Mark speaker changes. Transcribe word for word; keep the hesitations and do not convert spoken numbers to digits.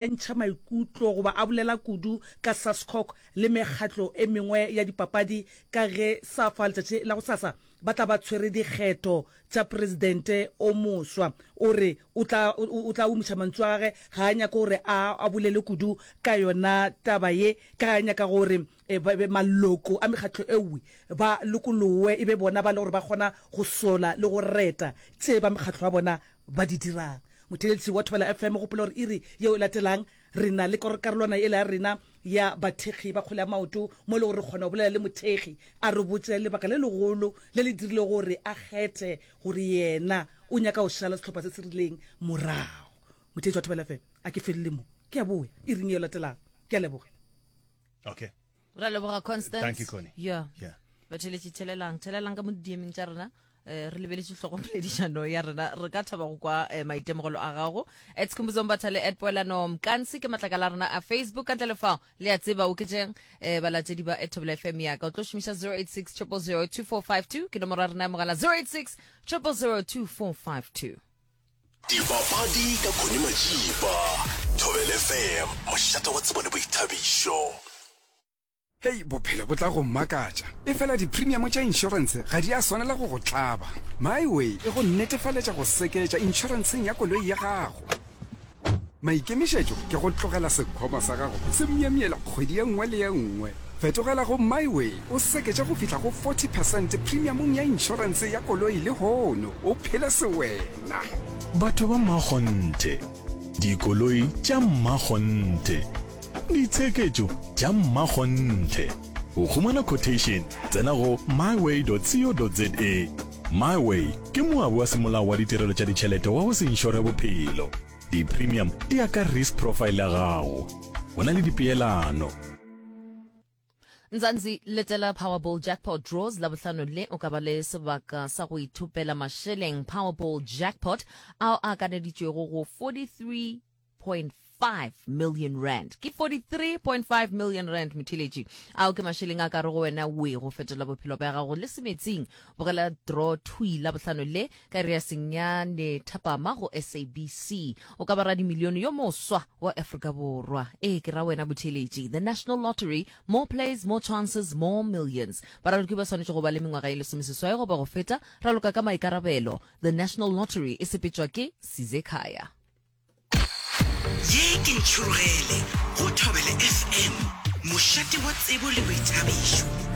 Speaker 1: Ntšha maikutlo goba a bolela kudu ka Sascoc le mekgatlo e mengwe ya dipapadi ka ge SAFA letšatši la gosasa ba tla ba tshwere dikgetho tša presidente o moswa. O re o tla o tla umiša mantšu a gage, ga a nyake gore a a bolele kudu ka yona taba ye ka ge a nyaka gore maloko a mekgatlo ewe ba lokolowe e be bona ba le gore ba kgona go sola le go reta tše ba mekgatlo ya bona ba di dirang. Motheeletši wa Thobela F M, gopola gore iri yeo e latelang re na le karolwana yela ya rena ya bathekgi ba kgwele ya maoto mo e le gore re kgona go bolela le mothekgi a re botše lebaka le legolo le le dirilego gore a kgethe gore yena o nyaka go šala sehlopha se se rileng morago. Motheeletši wa Thobela F M, a ke felele mo, ke a boya iring yeo e latelang. Ke a leboga.
Speaker 2: Okay.
Speaker 3: Ra leboga Constance.
Speaker 2: Thank you, Connie.
Speaker 3: Yeah.
Speaker 2: Yeah.
Speaker 3: Batheeletši, thelelang, thelelang ka mo di-D M-eng tša rena. Eh, re lebeletše hlogopoledišano ya rena, re ka thaba go kwa eh, maitemogelo a gago. At Skhumbuzo Mbatha le at Poelano Mkansi ke matlakala a rena a Facebook. Ka ntle le fao le a tseba o ketšeng eh, balatedi ba at Thobela F M ya ka o tlo šomiša zero eight six triple zero two four five two ke nomoro ya rena ya mogala, zero eight six triple zero two four five two.
Speaker 4: Dipapadi ka Connie Majiba, Thobela F M, mošate wa tsebo le boithabišo.
Speaker 5: Hei, bophelo bo tla go makatša. Efela di-premium tša inšorense ga di a swanela go go tlaba. MiWay e go netefaletša go seketša inšorenseng ya koloi ya gago. Maikemišetšo ke go tlogela sekhwama sa gago se myemyela kgwedi ye nngwe le ye nngwe. Fetogela go MiWay o seketše go fihla go forty percent premiumong ya inšorense ya koloi lehono, o phele sewena.
Speaker 6: Batho ba mmakgonthe, dikoloi tša mmakgonthe, ditsheketšo tša mmakgonthe. Go humana quotation, tsena go myway dot co dot za. MiWay ke moabi wa semolao wa ditirelo tša ditšhelete wa go se inšore bophelo. Di-premium di ya ka risk profile ya gago. Go na le dipeelano.
Speaker 3: Mzansi, letela Powerball Jackpot Draws Labohlano le o ka ba le sebaka sa go ithopela mašeleng Powerball Jackpot ao a akaneditšwego go forty-three point five million rand. Ke forty-three point five million rand motheeletši. Ao ke mašeleng a ka re go wena we go fetola bophelo bja gago le semetsing. Bogela draw thwi Labohlano le ka iri ya senyane thapama go S A B C. O ka ba radimilione yo moswa wa Afrika Borwa. Ee, ke ra wena motheeletši. The National Lottery, more plays, more chances, more millions. Baraloki ba swanetše go ba le mengwaga ye lesomeseswai goba go feta, raloka ka maikarabelo. The National Lottery e sepetšwa ke Sizekhaya.
Speaker 7: Ye ke Ntšhurugele go Thobela F M, mošate wa tsebo le boithabišo.